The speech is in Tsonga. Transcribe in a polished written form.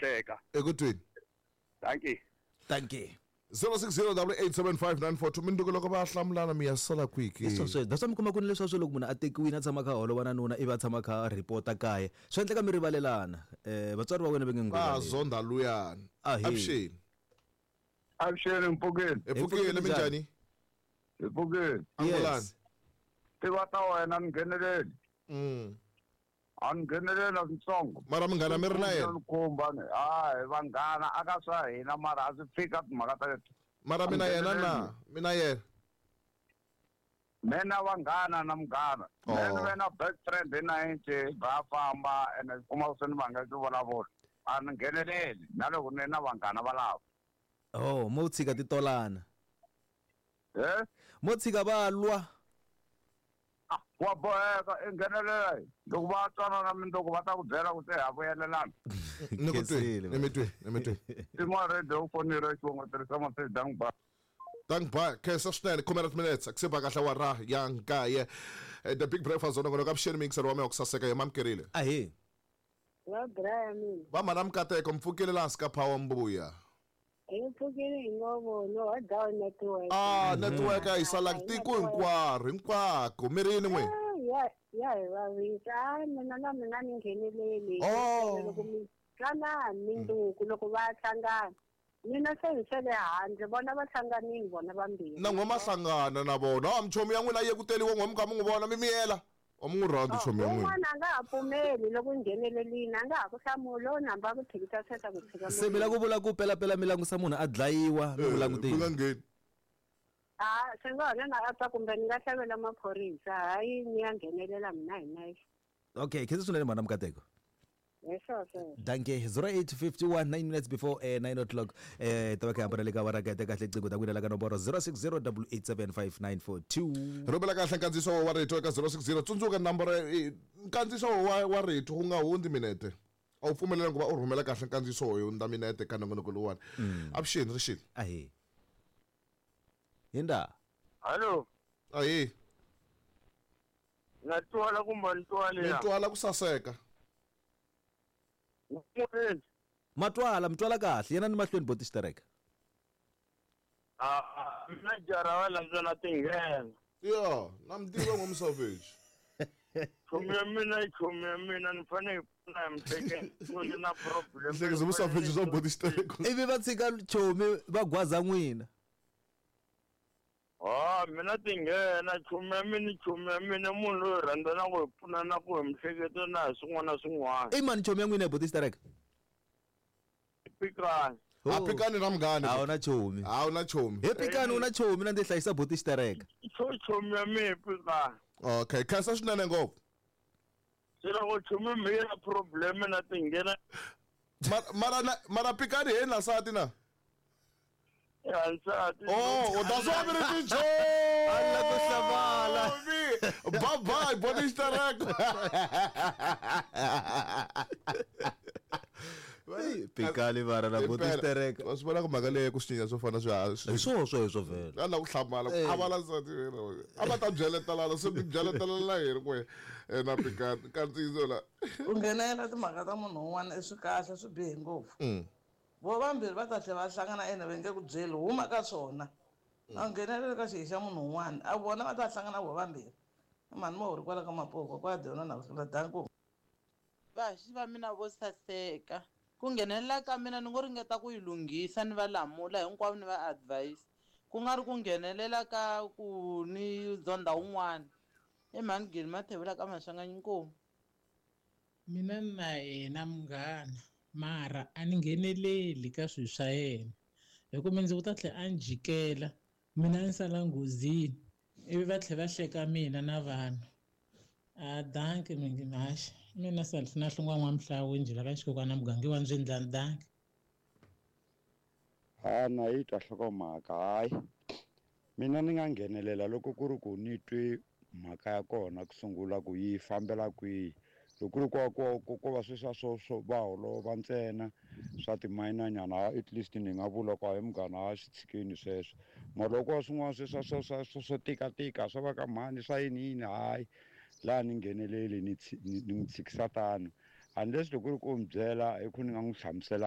hleka. Eku tweni. Dankie. Dankie. 0608875942 minduku loko va hlamulana mi ya sala kwihi ke? Hi swona sweswo. Mi kuma ku ni leswiya swo loko munhu a tekiwile a tshama a kha a holova na nuna ivi a tshama a kha a report-a kaya swi endleka mi rivalelana um vatswari va wena va nge n'wi Va rivaleli. zonda luyani. Ahee. Avuxeni. Avuxeni mpfukeni. Hi pfukile minjhani? Hi pfukile. Angulani. Tiva ta wena ni ngheneleli. A ni ngheneleli na switsongo. Mara munghana mi ri na yena? Ni khumba ni. Hayi vanghana aka swa hina mara a swi fika timhaka ta leti. Mara mina yena na mina yena. Mina vanghana na munghana. Oh. Mina ni ve na best friend hi 90 va famba ene kuma swi ni vanga swi vulavula. A ni ngheneleli na loko ni na vanghana valavo. Oh, mo tshika ti tolana. Eh? Mo tshika va lwa. Wa boheka i nghenelela loko va twanana mindzuku va ta ku byela ku se ha vuyelelana. Ni ku twi, ni mi twi, ni mi twi. Tin'wana radio u fonile xivongo tirhisa message dank ba. Dank ba, khensa swinene khume ra timinetse ku se ba kahle awara ya nkaye. The Big Breakfast zona kona ka vuxeni mixer wa mehe wa ku saseka hi mamukerile. Ahee. Va Brian mina. Va mhana Mukateko mpfukile laha hansi ka Power Mbuya. Hi pfukile hi ngo no wa down network. Ah, network a yi salanga tiko hinkwaro hinkwako mi ri yini n'we? Ya ya hi vavisa. Ah, mina na mina ni ngheneleli. Oh. Loko mi twanani mindzuku loko va hlangana. Mina se hi sele handle vona va hlanganile vona vambirhi. Na n'we ma hlangana na vona. Ah, michomi ya n'wina yi ye ku teliwa n'we mi kha mi n'wi vona mi miyela. A mi n'wi rhandzi chomi ya n'wina. Un'wana a nga ha pfumeli loko u nghenelelini a nga ha ku hlamuli o namba a ku tshikisa tsheta ku tshika Se mi la ku vula ku pelapela mi langusa munhu a dlayiwa mi n'wi langutile. Mi nga ngheni. A swi nga hona na apa kumbe ni nga hlavela maphorisa hayi ni ya nghenelela mina hi nexe. Okay, khensa swinene mhana Mukateko. Hi swona sweswo. Danke 0851 9 minutes before 9 o'clock ta va kha hambana le ka awara kahle kahle qingho ta n'wina la ka nomboro 0608875942. Rhumela kahle nkandziyiso wa rito eka 060 tsundzuka namboro nkandziyiso wa rito wu nga hundzi minete a wu pfumelelanga ku va u rhumela kahle nkandziyiso wo hundza minete ka nongonoko lowuwani. Avuxeni rixile. Ahee. Hinda. Hallo. Ahee. Na twala kumbe ni twali Mi ya? twala ku saseka. Matwala, mi twala kahle yena ni mahlweni boti xitereka. Ah, mina jara wa landzela tinghena. Ya, na mi tiva n'we Savage. Chomi ya mina i chomi ya mina ni fanele hi pfuna hi mihleketo ni na problem. Mihleketo mu Savage swa boti xitereka. Ivi va tshika chomi va gwaza n'wina. Ah, mina tinghena chomi ya mina i chomi ya mina munhu loyi rhandza na ku hi pfuna na ku hi mihleketo na hi swin'wana na swin'wana. I mani chomi ya n'wina boti xitereka? Pikani. A pikani na munghana. A wu na chomi. A wu na chomi. He pikani u na chomi na ndzi hlayisa boti xitereka. Chomi ya mina i pikani. Okay, khensa swinene ngopfu. Se loko chomi mi yi na problem na tinghena. Mara pikani hi na nsati na? Ya nsati. Oh, that's why mi ri tichomi. A la ku hlamala. Bye bye, boti xitereka. Pikani vara na boti xitereka. Wa swi vona ku mhaka leyi ku swi swo fana swi Hi swona sweswo vhele. A la ku hlamala ku a va la nsati a va ta byeletelana se mi byeletelana hi ri kwe na pikani kandziyiso la. Ku nghenelela timhaka ta munhu un'wana i swi kahle swi bihe ngopfu. Vo vambirhi va ta tlhela va hlangana ene va nge ku byeli huma ka swona. A ngheneleli ka xihi xa munhu un'wana a vona va ta hlangana vo vambirhi. Mhani mo ri kwala ka Mapoko kwa dyona na ku danko. Vahaxi va mina vo saseka. Ku nghenelela ka mina ni ngo ringeta ku yi lunghisa ni va lamula hinkwavo ni va advise. Ku nga ri ku nghenelela ka ku ni zonda un'wana. I mhani Gili Mathebula ka Maswanganyi Nkomu. Mina na yena munghana mara a ni ngheneleli ka swilo swa yena hi ku mindzuku ta tlhela a ni jikela mina ni sala nghozini ivi va tlhela va hleka mina na vanhu. A danki mingi haxi mina Salfina Hlongwa N'wamhlawu njhe la ka xikokwana muganga wa Ndzwendlani danki. Ha na yi twa nhlokomhaka hayi mina ni nga nghenelela loko ku ri ku ni twe mhaka ya kona ku sungula ku yi fambela kwihi. Loko ku ri ko va sweswiya swo va holova ntsena swa timayinanyana at least ni nga vula ku hayi munghana a swi tshikeni sweswo. Mara loko ko va swin'wana sweswiya swo tikatika swa va ka mhani swa yini yini hayi laha ni ngheneleli ni n'wi tshikisa tano. Unless loko ku ri ku u ni byela hi ku ni nga n'wi hlamuselaka.